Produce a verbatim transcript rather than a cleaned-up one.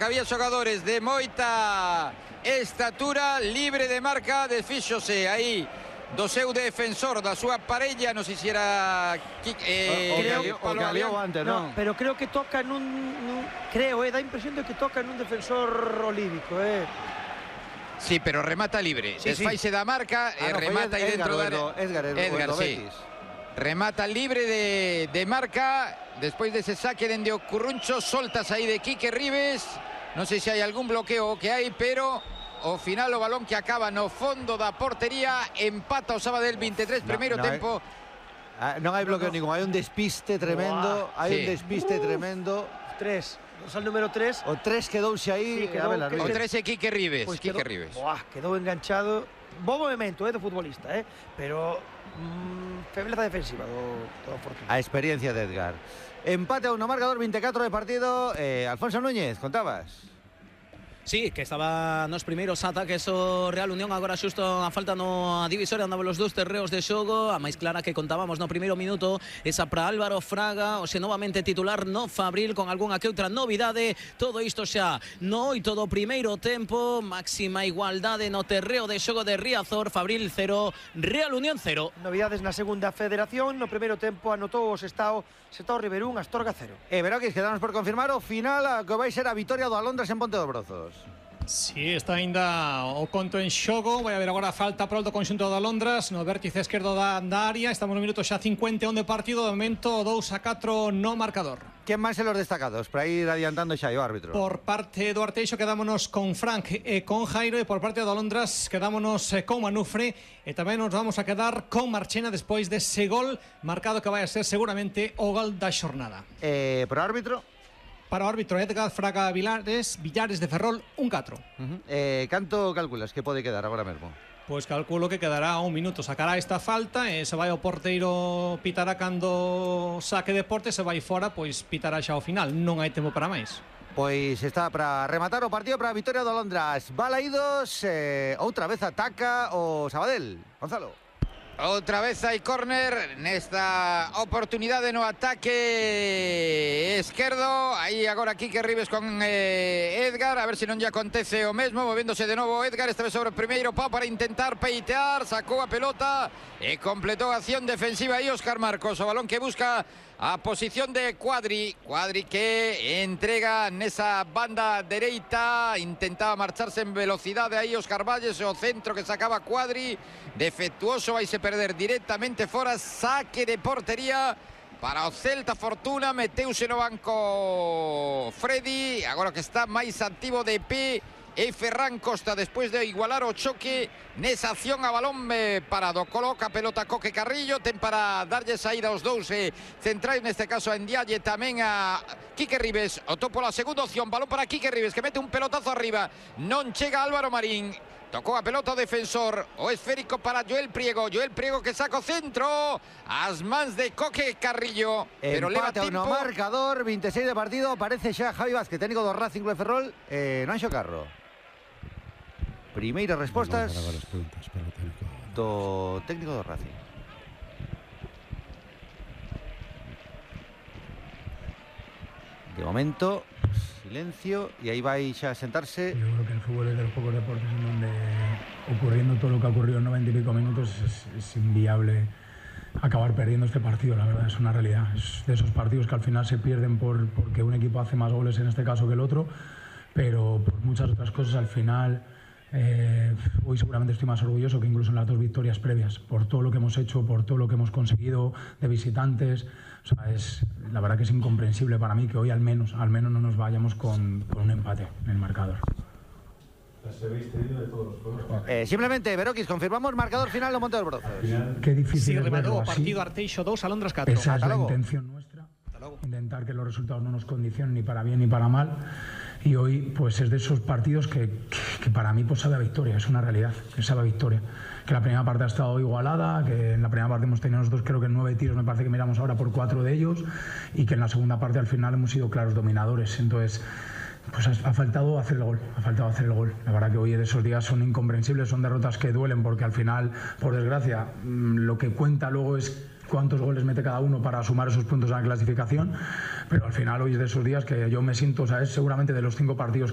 que había xogadores de moita estatura, libre de marca, desfíxose aí do seu defensor, da súa parella, non sei se era eh, o, creo, o que aliou antes, non? No, pero creo que toca nun, nun creo, eh, dá impresión de que toca nun defensor olívico, eh. Sí, pero remata libre, sí, desfaise sí. da marca, ah, e no, remata aí dentro da área. Edgar, Edgar, Edgar, sí. Remata libre de, de marca, despois dese saque dende o Curruncho, soltas aí de Quique Ribes, non sei se hai algún bloqueo que hai, pero ao final o balón que acaba no fondo da portería, empata o Sabadell vinte e tres, primeiro no, no tempo. Hai, non hai bloqueo no, no. ningún, hai un despiste tremendo, Uah, hai sí. un despiste uh, tremendo. Tres, o número tres. O tres quedouse aí, sí, quedou, a ver, que, o tres é Quique Ribes, pues Quique quedou, Ribes. Buah, quedou enganchado, bo movimento, eh, do futbolista, eh, pero mm, febleza defensiva do, do Fortuna. A experiencia de Edgar. Empate a uno, marcador vinte e catro de partido. eh, Alfonso Núñez, contabas? Sí, que estaba nos primeiros ataques o Real Unión, agora xusto a falta no divisoria, andaban os dous terreos de xogo, a máis clara que contábamos no primeiro minuto, esa para Álvaro Fraga, hoxe novamente titular no Fabril, con algunha que outra novidade, todo isto xa no oito do primeiro tempo, máxima igualdade no terreo de xogo de Riazor, Fabril cero, Real Unión cero. Novidades na segunda federación, no primeiro tempo anotou o Sestao, Sestao Riverún, Astorga cero. E Veroquis, quedamos por confirmar o final, a que vai ser a vitoria do Alondras en Ponte de Brozos. Sí, está ainda o conto en xogo. Vai haber agora falta para o conxunto da Londras no vértice esquerdo da, da área. Estamos no minuto xa cincuenta e un de partido. De momento dous a catro no marcador. ¿Quién máis en los destacados para ir adiantando xa o árbitro? Por parte do Arteixo quedámonos con Frank e con Jairo, e por parte do Londras quedámonos con Manufre, e tamén nos vamos a quedar con Marchena despois dese gol marcado que vai a ser seguramente o gol da xornada. Eh, por árbitro? Para o árbitro Edgar Fraga Vilares, Villares de Ferrol, un catro. Uh-huh. eh, canto calculas que pode quedar agora mesmo? Pois calculo que quedará un minuto. Sacará esta falta e se vai o porteiro pitará cando saque de porte, se vai fora, pois pitará xa ao final. Non hai tempo para máis. Pois está para rematar o partido para a vitoria do Alondras. Balaídos, eh, outra vez ataca o Sabadell. Gonzalo. Outra vez hai córner nesta oportunidade no ataque esquerdo. Aí agora Quique Ribes con eh, Edgar, a ver se non lle acontece o mesmo, movéndose de novo Edgar, esta vez sobre o primeiro pau para intentar peitear, sacou a pelota e completou a acción defensiva aí Óscar Marcos, o balón que busca a posición de Cuadri, Cuadri que entrega nesa banda dereita, intentaba marcharse en velocidade aí Óscar Valles, o centro que sacaba Cuadri, defectuoso, vai se perder directamente fora, saque de portería para o Celta. Fortuna, meteuse no banco Freddy, agora que está máis activo de pé e Ferran Costa despois de igualar o choque nesa acción a balón eh, parado, coloca a pelota Coque Carrillo, ten para darlle saída aos dous eh, centrais, neste caso a Ndiaye, tamén a Quique Ribes, o topo la segunda opción, balón para Quique Ribes que mete un pelotazo arriba, non chega Álvaro Marín, tocou a pelota o defensor, o esférico para Joel Priego, Joel Priego que saca o centro, as mans de Coque Carrillo, pero leva tempo. No marcador, vinte e seis de partido, aparece xa Javi Vázquez, técnico do Racing Club de Ferrol, eh, Nanxo Carro. Primeiras respostas do técnico do Racing. De momento, silencio, y ahí vai xa a sentarse. Yo creo que el fútbol es de los pocos deportes en donde, ocurriendo todo lo que ha ocurrido en noventa y pico minutos, es, es inviable acabar perdiendo este partido. La verdad, es una realidad. Es de esos partidos que al final se pierden por, porque un equipo hace más goles en este caso que el otro, pero por muchas otras cosas al final. Eh, hoy seguramente estoy más orgulloso que incluso en las dos victorias previas, por todo lo que hemos hecho, por todo lo que hemos conseguido de visitantes. O sea, es, la verdad que es incomprensible para mí que hoy al menos, al menos no nos vayamos con, con un empate en el marcador. Eh, simplemente, Veroquis, confirmamos marcador final de Monte del Brozo. Qué difícil sí, es verlo así. Partido Arteixo dos, Alondras catro. Esa es la intención nuestra, intentar que los resultados no nos condicionen ni para bien ni para mal. Y hoy pues es de esos partidos que, que, que para mí pues sabe a victoria, es una realidad, que sabe a victoria. Que la primera parte ha estado igualada, que en la primera parte hemos tenido nosotros creo que nueve tiros, me parece que miramos ahora por cuatro de ellos, y que en la segunda parte al final hemos sido claros dominadores. Entonces pues ha, ha faltado hacer el gol, ha faltado hacer el gol. La verdad que hoy de esos días son incomprensibles, son derrotas que duelen porque al final, por desgracia, lo que cuenta luego es cuántos goles mete cada uno para sumar esos puntos a la clasificación, pero al final hoy es de esos días que yo me siento, o sea, es seguramente de los cinco partidos